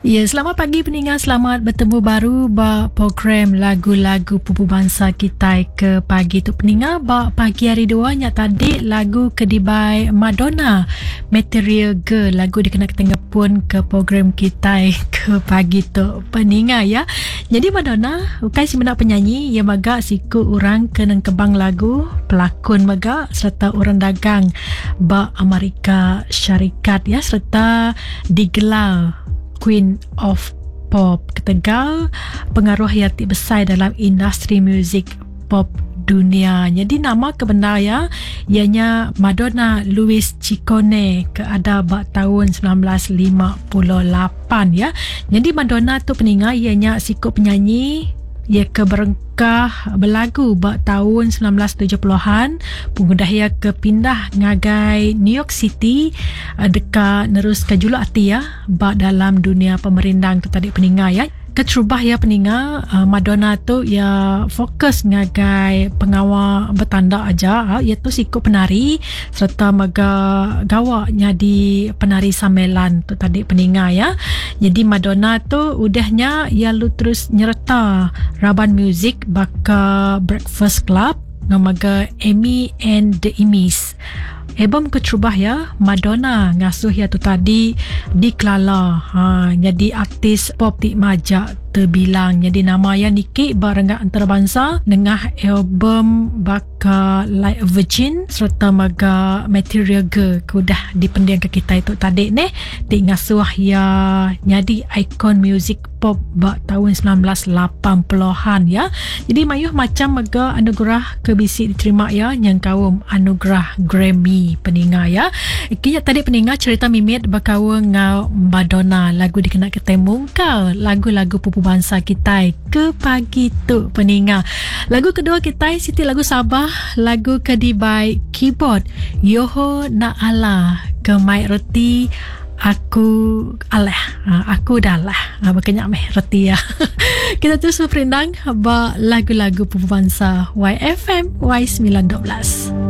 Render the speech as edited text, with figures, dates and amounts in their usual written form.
Ya, selamat pagi peninga, selamat betemu baru ba program lagu-lagu pupu bansa kitai ke pagi tu peninga ba pagi hari dua nya tadi lagu ke dibai Madonna Material Girl lagu dikena kita ngepun ke program kitai ke pagi tu peninga ya. Jadi Madonna ukai semina penyanyi ia mega siku orang ke nengkebang lagu, pelakon mega serta orang dagang ba Amerika Syarikat ya serta digelar Queen of Pop ketegal pengaruh iya ti besai dalam industri muzik pop dunia. Nyadi nama ke bendar iya iya nya Madonna Louise Ciccone ke ada ba taun 1958 ya. Nyadi Madonna tu peninga iya nya siku penyanyi iya ke berengkah belagu ba taun 1970-an pengudah iya ke pindah ngagai New York City deka neruska juluk ati iya ba dalam dunia pemerindang tu tadi peninga iya. Keterubah iya peninga Madonna tu iya fokus ngagai pengawa betanda aja. Iya tu siku penari sereta mega gawa nyadi penari samelan tu tadi peninga iya. Nyadi Madonna tu udah nya iya lalu terus nyereta raban muzik baka Breakfast Club enggau mega Amy and the Amys. Album keterubah iya, Madonna ngasuh iya tu tadi dikelala ha, nyadi artis pop ti majak tebilang. Nyadi nama iya niki ba renggat antarabangsa nengah album baka Like a Virgin sereta mega Material Girl ke udah dipendingka kitai tu tadi neh ti ngasuh iya nyadi ikon muzik pop ba taun 1980-an ya. Jadi mayuh macam mega anugerah ke bisi diterima ya nyengkaum anugerah Grammy peninga ya. Kinya tadi peninga cerita mimit bekaul enggau Madonna lagu dikena kitai mungkal lagu-lagu pupu bansa kitai ke pagi tu peninga. Lagu kedua kitai siti lagu Sabah lagu ke dibai keyboard Yoho Naala ke mai reti Aku alah. Ha, aku dah alah. Ha, baka nya meh reti ya. Kita terus berperindang ba lagu-lagu pupu bansa YFM Y912.